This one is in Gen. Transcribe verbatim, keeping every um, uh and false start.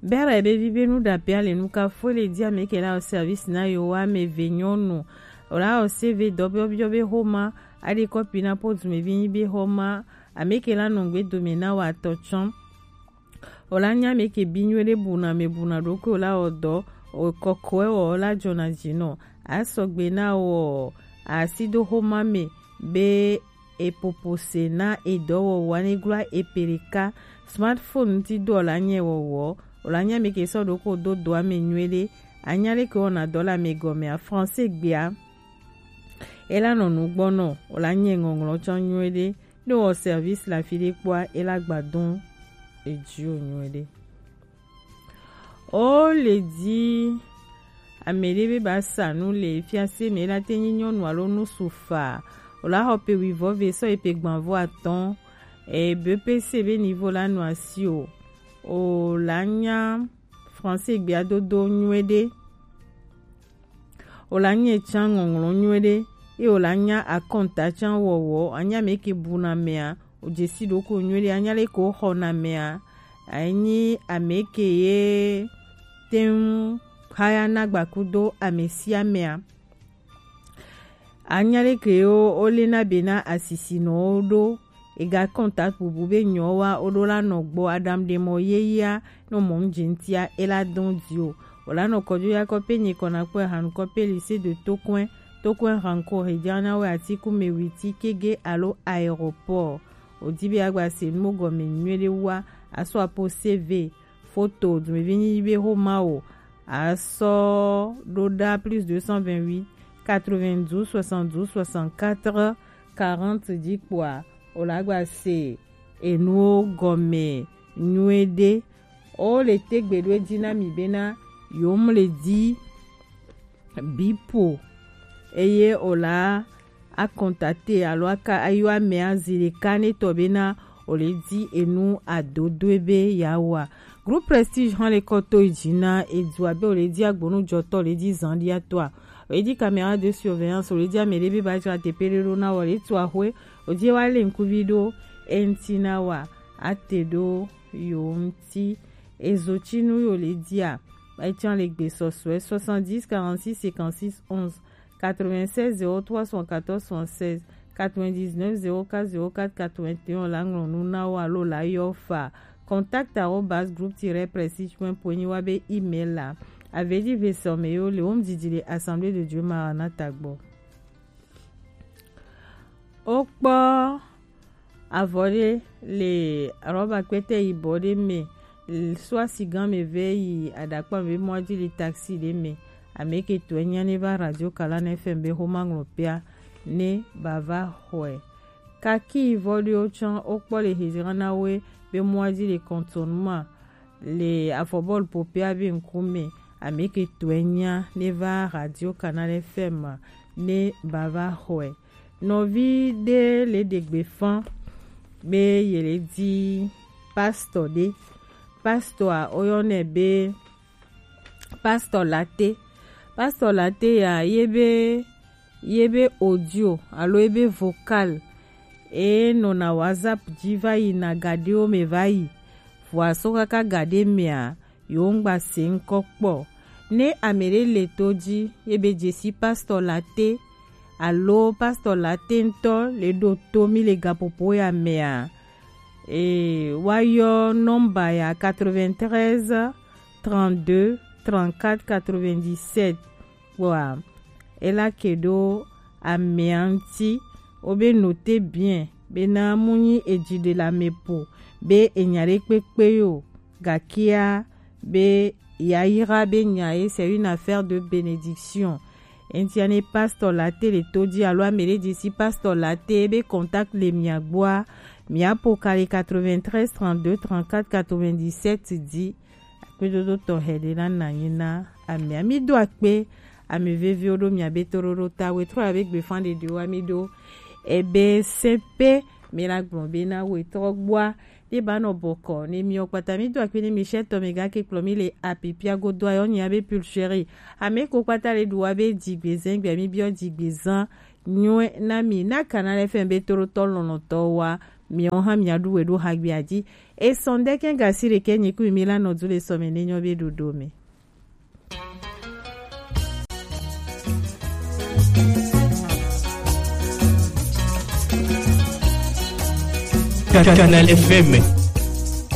Bere be vi be nu ɖape ale nu ka fo le di ame ke la o service na yo wa ame ve nyɔnu. O la o se ve dɔ biɔ biɔ be xoma, aɖe kɔpi na po dume vi nyi be xoma, ame ke la nɔ gbe dome na wa tɔ tsɔn. O la nya ame ke bi nyuie ɖe buna me buna ɖokui o la o dɔ, o kɔkɔe wɔ o la jɔna dzi nɔ. A sɔgbe na wɔ asi do xoma me be epopo se na edɔwɔwɔ anegloa epeleka. Smartphone ŋuti dɔ la nye wɔwɔ, o la nya ame ke sɔ ɖo ko do dɔa me nyuie ɖe. Anya ɖe ke wɔna dɔ la me gɔmea, français gbea. E la nɔ nu gbɔ nɔ, o la nye ŋɔŋlɔ tsɔ nyuie ɖe. Ne wɔ service la fi ɖe kpɔa, e la gba dɔn edzi o nyuie ɖe. O le di ame ɖe be ba sa nu le fiase me la te nyi nyɔnu alo nu su fa. O la xɔ pe wivɔ ve sɔ yi pe gbanvɔ atɔn. E B P C be niveau la nɔ asi o. O la nya français gbea dodo nyuie ɖe. O la nya can ŋɔŋlɔ nyuie ɖe. Ye o la nya akɔnta can wɔwɔ. Anya ame ke buna mea, o dzesi ɖoko nyuie ɖe. Anya le ko xɔna mea, anyi ame ke ye teŋ haya na gbakudo ame sia amea. Anya ɖe ke yo o le na be na asisi nɔ wo ɖo. Ega contact bubu be nyɔ wa o ɖo la nɔ gbɔ adam ɖe mɔ ye ya nɔ mɔ nu dze ŋutia e la dɔn di o. O la nɔ kɔjo ya kɔpe nye kɔna kpɔ hanu kɔpe lycée de Tokoin, Tokoin ranko hejana we atiku me witi kege alo aéroport. O di be agba se nu gɔme nyuie ɖe wa, aso apo C V, photo, dumevi nyi be xoma o. Asɔ ɖo ɖa plus deux cent vingt-huit, quatre-vingt-douze, soixante-douze, soixante-quatre, quarante dzi kpoa, o la gba se enuwo gɔme nyuie ɖe. O le te gbe ɖo edzi na mi bena yom le di bipo eye o la a contacter alo aka ayɔ amea zi ɖeka ne tɔ bena o le di enu adodoe be yeawa. Groupe Prestige hã le kɔ to yi dzi na edu abe o le di agbonu jɔtɔ o le di zan ɖia tɔa. O le di caméra de surveillance o le di ame ɖe be ba dzra teƒe ɖe ɖo na wɔ le tu axwe o di wa le ŋkuvi ɖo eŋti na wa ate ɖo yo ŋti. Ezo tsi nu yo le dia. Etsã le gbe sɔsɔe soixante-dix quarante-six cinquante-six onze. Quatre-vingt-seize zéro trois soixante-quatorze soixante-seize, quatre-vingt-dix-neuf zéro quatre zéro quatre quatre-vingt-un la ŋlɔ nu na wo alo la yɔ fa contact arobase groupe tiret prestige point point nyi wa be email la. Avedi vesɔme yo le wo ŋdidi le Assemblée de Dieu Maranatha gbɔ. Wokpɔ avɔ ɖe le rɔba kpɛtɛ yibɔ ɖe me, sɔ asi gã me vɛ yi aɖakpa me be mɔa dzi li taxi ɖe me. Ame ke tɔe nya ne va Radio Kalan F M be xoma ŋlɔ pea ne bava xɔe. Kaki vɔ ɖewo tsã wokpɔ le hezira na woe be mɔa dzi le kɔntɔnuma le afɔbɔlu popea be ŋkume. Ame ke tɔe nya ne va Radio Canal F M ne bava xɔe. Nɔvi ɖe le ɖe gbe fã be ye le di pastor ɖe. Pastor a woyɔnɛ be pastor Latte. Pastor Latte ya ye be ye be audio alo ye be vocal e nɔna WhatsApp dzi va yina gaɖewo me va yi. Vɔa so kaka gaɖe mea yewo ŋgba se ŋkɔ kpɔ. Ne ame ɖe le to dzi ye be dzesi pastor Latte alo pastor Latte ŋutɔ le ɖo to mi le gaƒoƒo ya mea, e, woayɔ nɔmba ya quatre-vingt-treize trente-deux trente-quatre quatre-vingt-dix-sept kpɔa, ela ke ɖo amea ŋuti. Wobe noter bien bena mu nyi edzi ɖe le ame ƒo be enya ɖe kpekpe yo, gakea be yayra be nya ye c'est une affaire de bénédiction. Eŋtia ne pastor Latte le to dzi alo ame ɖe dzi si pastor Latte be contact le mia gbɔa, mia ƒo ka le quatre-vingt-treize trente-deux trente-quatre quatre-vingt-dix-sept dzi. Akpedodo tɔxɛ ɖe na nanyi na amea. Mi do akpe ame veviwo ɖo mia be toɖoɖo ta. Wetrɔ ya be gbefa ɖeɖewo ami ɖo ebe se pe mi la gblɔ be na wetrɔ gbɔa. Ye ba nɔ bɔkɔ ne miɔ kpata mi do akpe ne mi sɛ tɔ mi ga ke kplɔ mi le apipia godo ayɔ nya be pulcheri. Ame ko kpata le ɖu wa be dzi gbe zɛn gbe mi biɔ dzi gbe zan nyuie na mi na kana le fɛn be toɖotɔ lɔlɔtɔ wa Miawo hã miaɖu we ɖo hagbea dzi. Esɔn ɖe kɛ̃ gasi ɖekɛ nyi ku mi la nɔ du le sɔme ne nyɔ be ɖoɖo me. Canal F M.